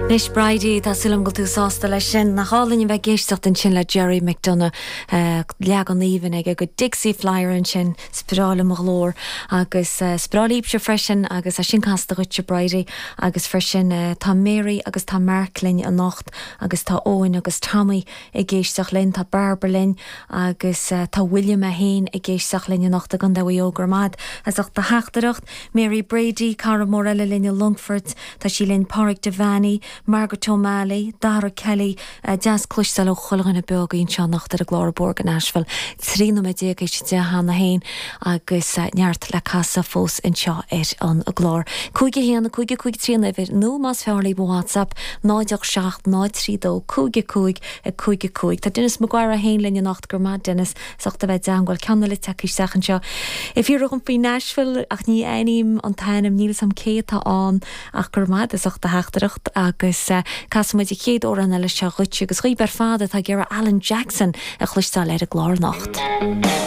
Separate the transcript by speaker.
Speaker 1: Anois Bridie, tá súil agam go bhfuil tú sásta leis sin. Nach álainn a bheith ag éisteacht ansin le Gerry McDonagh, leagan aoibhinn aige de Dixie Flyer ansin, is breá liom a ghlór agus is breá libhse freisin agus é sin casta dhuitse Bridie agus freisin tá Mary agus tá Mark linn anocht agus tá Eoin agus Tommy ag éisteacht linn, tá Barbara linn agus tá William é féin ag éisteacht linn anocht i gContae Mhaigh Eo. Go raibh maith as ucht do theachtaireacht. Mary Brady, cara mór eile linn i Longfort, tá sí linn, Pádraig Devaney, Margaret O'Malley, Dara Kelly, deas cloisteáil ó chuile dhuine beo againn anseo anocht ar an gclár Ag Bóthar go Nashville. 13 nóiméad théis a 10 cheana féin agus neart le casadh fós anseo ar an gclár. 5 1 5 5 3 an uimhir nó más fearr libh WhatsApp 0 8 7 0 3 2 5 5 5 5. Tá Denis Maguire féin linn anocht, go raibh maith Denis as ucht a bheith i dteangmháil. Ceann eile tagtha isteach anseo. Ag fiafraí dhom faoi Nashville ach ní aithním an t-ainm, níl 'fhios a'm cé atá ann ach go raibh maith as ucht do theachtaireacht agus casfaidh muid an chéad amhrán eile seo dhuit agus dhaoibh ar fad atá ag iarraidh Alan Jackson a chloisteáil ar an gclár anocht.